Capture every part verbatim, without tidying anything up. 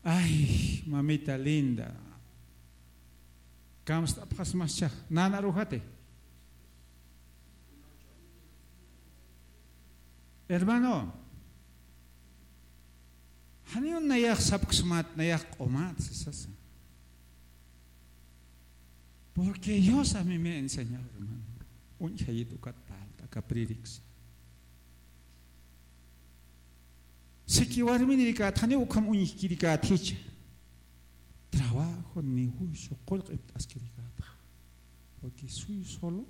Ay, mamita linda. Kamst'apxasmascha, nana arujati. Hermano, janiw nayax sapksmat, nayax q'umat, sisasa. Porque Dios a mí me ha enseñado, hermano. Uñjayit ukat palta, aka predica. Siki warminirikat, janiw ukham uñjkirikat jicha. Trabajo, negocio, qullqipt'askirikat. Porque soy solo.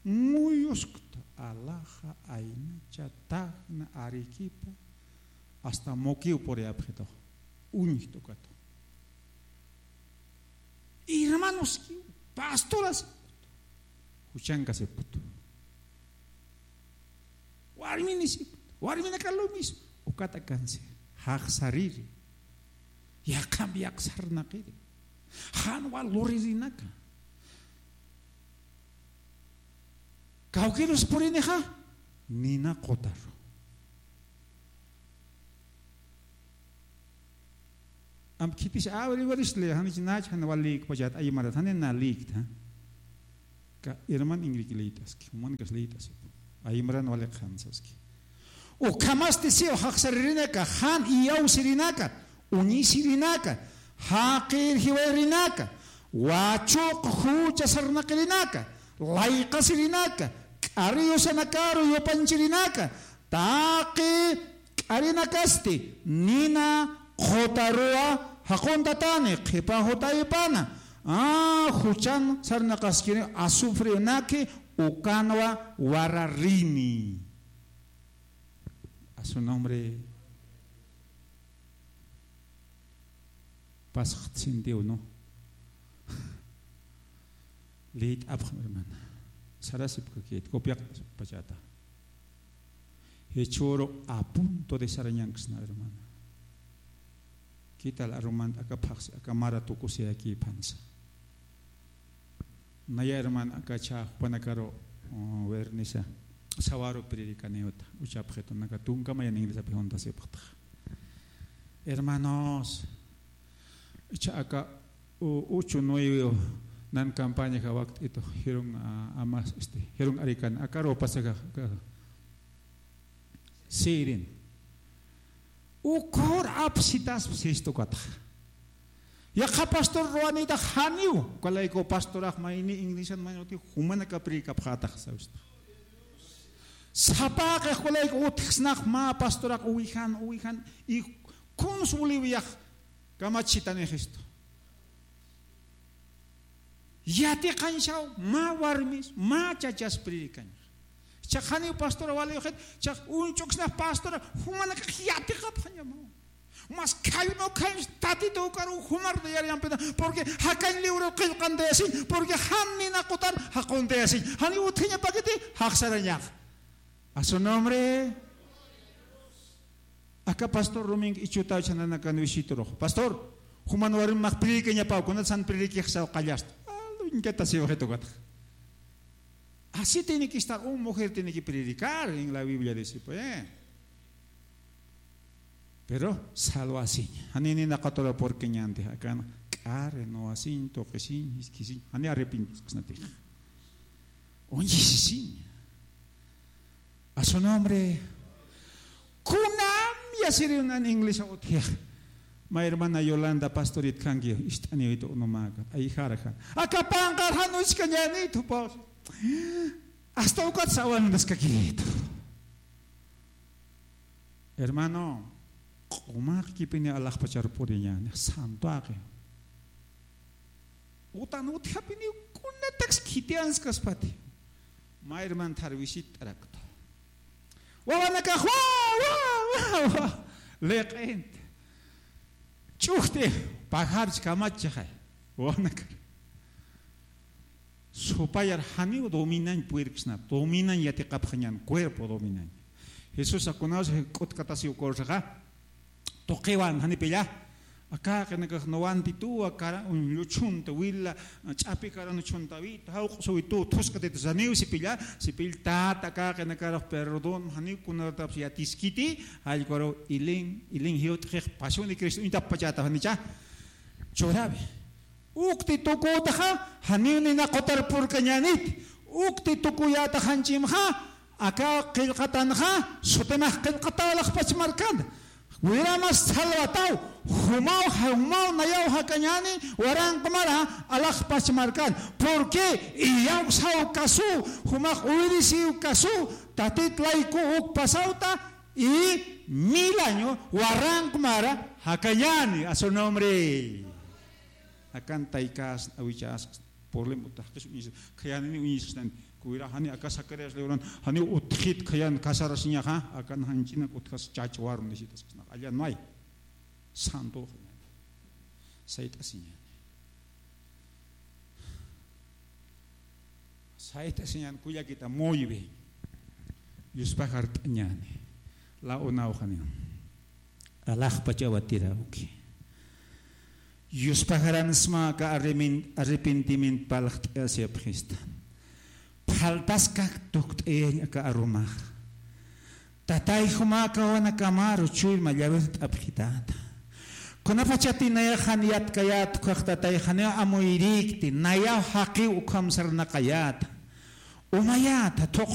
Muyuskta, Alaja, Aynacha, Tacna, Arequipa, hasta Moqueo puriyapxitu. Uñjta ukat. Hermanoskiw, pastoras, juchankasiput. Warminisiput, warminaka lo mismo. Ukat akansi, jaqsariri. Yaqham yaqsarnaqiri. Jan wal luririnaka. Kawkïrus purinixa, nina qutaru. Am khitis averiguarisle, janich nach, jan wal lïkpachat, aymarat, jani na lïkta. Ka herman Ingrid lït'aski, jumankas lït'asipu. Aymaran wali qhansaski. Ukhamasti siw jaqsaririnaka, jan iyawsirinaka, uñisirinaka, jaqir jiwayrinaka, wachuq jucha sarnaqirinaka, layqasirinaka, k'ari yusanakaru yupanchirinaka, taqi k'arinakasti, nina qutaruwa jaquntatani, qhipa jutaypana, a, juchan sarnaqaskini, azufrenaki, ukanwa wararini. A su nombre. Pasxt sintiw, ¿no? Lït'apxam, hermana. Sarasipkakit, copiaqt'asipkpachata. Jichhüru a punto de sarañanksna, hermana. ¿Qué tal arumant aka phaxsi, aka mara tukusiyakïpansa? Naya hermana aka chha jupanakaru, uh, wernisa, sawaru predicanïta, uchapxitu, naka tunka mayan inglesapï juntasipxtaxa. Hermanos, ichha aka, u-, uchu nuevo nan campaña jawakt'itu, jirun, ah, amas, este, jirun arikan, akaru pasaxa, aka, sirin. Ukhur apsitaspa sistukataxa. Yaqha pastor ruwanïtax janiw, ukalayku pastorax mayni iglesian mayni uti jumanaka predicapxätax, sawista. Sapaqix ukalayku utjksnax mä pastorax uwijan, uwijan, y kuns Boliviax kamachitanixistu. Yatiqañsaw, mä warmis, mä chachas predicañax. Jichhax janiw pastora walïxit, jichhax uñch'uksnax pastora, jumanakax yatiqapxañamaw. Mas khayma ukhañs Tatitu ukaru jumar de yar yampita, porque jakañ libro qillqantayasiñ, porque jan nina qutar jaquntayasiñ. Janiw utjañapakiti, jaqsarañax. A su nombre. Aka pastor Rumink Ichutaw chhananakan visiturux. Pastor, juman warmi max predicañapaw, kunat san predicixsaw qallasta. Alduñkatasiw jitukatax. Así tiene que estar, una mujer tiene que predicar, en la Biblia dice, pues. Pero salwasiñ. Jani nina qutura purkiñänti, akan k'ari nuwasiñ, tuqisiñ, jiskisiñ, jani arrepintisksnatix. Uñisisiñ. A su nombre. Kunam yasiri unan inglesa utjixa. Mä hermana Yolanda, pastorit kanki, ist'aniwitu unumäkat, ayijarxa. Aka panqar jan uchkañänitu, pastor. Hasta ukat sawantaskakitu. Hermano, q'umaxkipini alaxpachar puriñäni, santuaqi. Utan utjapini kunataks khitiyanskaspati. Mä hermana thar visitt'arakta. Wawanakax, wa, wa, wa, wa. Liq'int. Ch'ujti, pajarch kamachixay. Wawanakar. Supayar janiw dominañ purirksna, dominañ yatiqapxañän, cuerpo dominañ. Jesusa kunaws k'utkatasiw kursaxa, tuqiwan janipilla, Aka qinakax nuwantituwa kara uñlluchunta wila ch'api karanuchuntawi tawq'suwitu thuskatitu saniw sipilla sipill tata aka qinakarux perdón janiw kunarataps yatiskiti. Jallkuaru ilin ilin jiwt'xix pasuni cristo uñtapachata janicha churawi. Ukti tukutaxa janiw nina qutar purkañanit. Ukti tukuyata janchimxa aka qillqatanxa sutimax qillqataw alaxpach markanta. Wiramas salvataw jumaw jumaw nayaw jakañani waranqmara alaxpach markan. Porque iyaw saw kasu jumax uyrisiw kasu tatit layku uk pasawta y mil año waranqmara jakañani a su nombre. Akan taykas awichas problema utaqkis uñis khayanini uñisxtan kuwira jani aka Zacarías leuran jani utxit khayan kasarasiñaxa akan janchinak utxas chachwarun disitasxna allan may santo sayt'asiñani. Sayt'asiñan kullakita muywi yuspajart'añani la unawxaniw alaxpach awatirawki. Yuspajaran sma aka arremin- arrepentimiento palxt'ayasipxista. Phaltaskak tukt'ayañ aka arumax tatay juma aka wanakamaru chuyma llawirt'apxitata. Kunapachati nayaxan yatkayat ukhax tatay janiw amuyrikti nayaw jaqiw ukham sarnaqayata umayata thuq